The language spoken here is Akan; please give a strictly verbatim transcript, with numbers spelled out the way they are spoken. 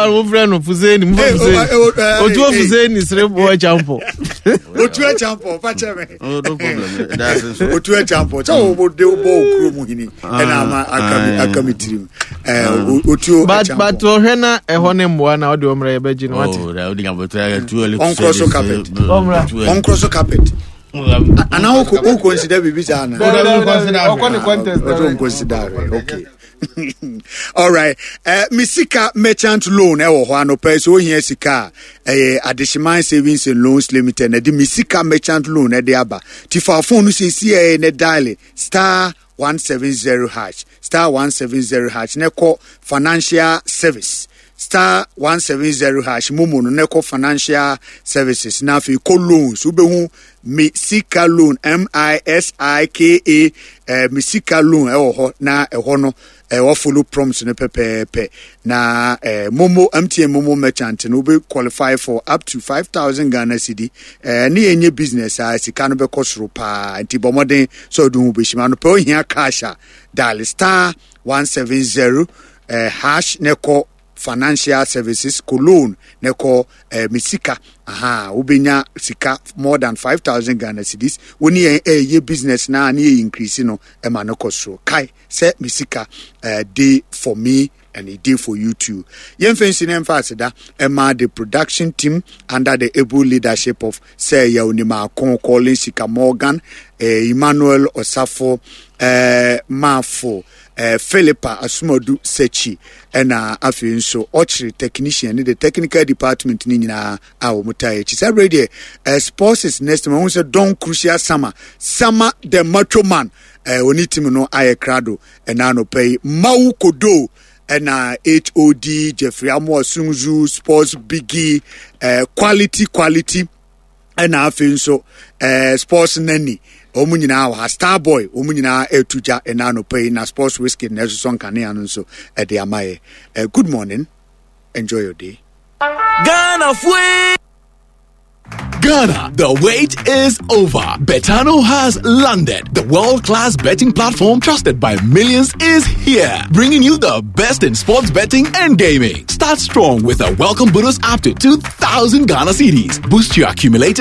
Wofrɛ no Fuseni, mfa Fuseni Otuo Fuseni sere boɔ Champo. Otuo Champo, fa kyɛ me. Oh, no problem. That's it. Otuo Champo sɛ wode wobɔ wo kuro mu hini ɛna ama aka me aka me tirim. Eh, Otuo but Champo. But ɔhwɛ na ɛhɔ ne mmoa na ɔde ɔmmerɛ yɛbɛgye no wate. Oh, that would be too early to Ɔnkorɔ say so this, carpet. uh, Ɔmmra. too early. Ɔnkorɔ so carpet anaa wokɔ wo consider biribi saa anaa? Ɔkɔ ne contest. Ɔtɔ consider. Okay, all right. uh, me Sika merchant loan ɛwɔ hɔ anɔpɛ sɛ ohia sika a, ɛyɛ Adehyeman Savings and Loans Limited na ɛde Me Sika merchant loan ɛde aba. Ti fa phone no siesie ɛyɛ ne dial star one seven zero hash, star one seven zero hash ne kɔ financial service, star one seven zero hash momo no ne kɔ financial services na afei kɔ loans. Wobɛhu Me Sika loan, M I S I K A, eh, Me Sika loan ɛwɔ hɔ na ɛhɔ no ɛwɔ follow prompts no pɛpɛɛpɛ na eh, momo M T N momo merchant no, wobɛ qualify for up to five thousand Ghana cedi. eh, ne yɛnyɛ business a sika no bɛkɔ soro paa, nti bɔ mmɔden sɛ ɔde ho bɛhyim anɔpɛ. Ohia cash a, dial star one seven zero eh, hash ne kɔ financial services, kɔ loan ne kɔ eh, Me Sika. Aha wobɛnya sika more than five thousand Ghana cedis. Wo ne yɛn ɛyɛ business na ne yɛ increase no ɛma no kɔ soro. Kae sɛ Me Sika eh, dey for me and e dey for you too. Yɛmfa nsi ne mfa aseda ɛma the production team under the able leadership of Sir Yaw Collins Sika Morgan, eh, Emmanuel Osafo eh, Mafo, eh, Philippa Asomadu Sechi, ɛna afei nso ɔkyerɛ technician ne the technical department ne nyinaa a wɔn taa akyi saa bere deɛ. eh, sports is next. Ma wɔn sɛ Don Crucial Sama Sama the Macho Man, eh, wɔne team no ayɛ krado ɛna anɔpɛ yi. Mawu Kodo ɛna H O D Jeffrey Amoa Sunzu, Sports Biggie, eh, quality quality, ɛna afei nso eh, Sports Nani, wɔn nyinaa wɔ ha. Star Boy, wɔn nyinaa ɛretu gya ɛna anɔpɛ yi na Sports Whisky na ɛsosɔ nkanea no nso ɛde ama yɛ. eh, good morning, enjoy your day. Ghana fue! Ghana, the wait is over. Betano has landed. The world-class betting platform trusted by millions is here, bringing you the best in sports betting and gaming. Start strong with a welcome bonus up to two thousand Ghana cedis. Boost your accumulated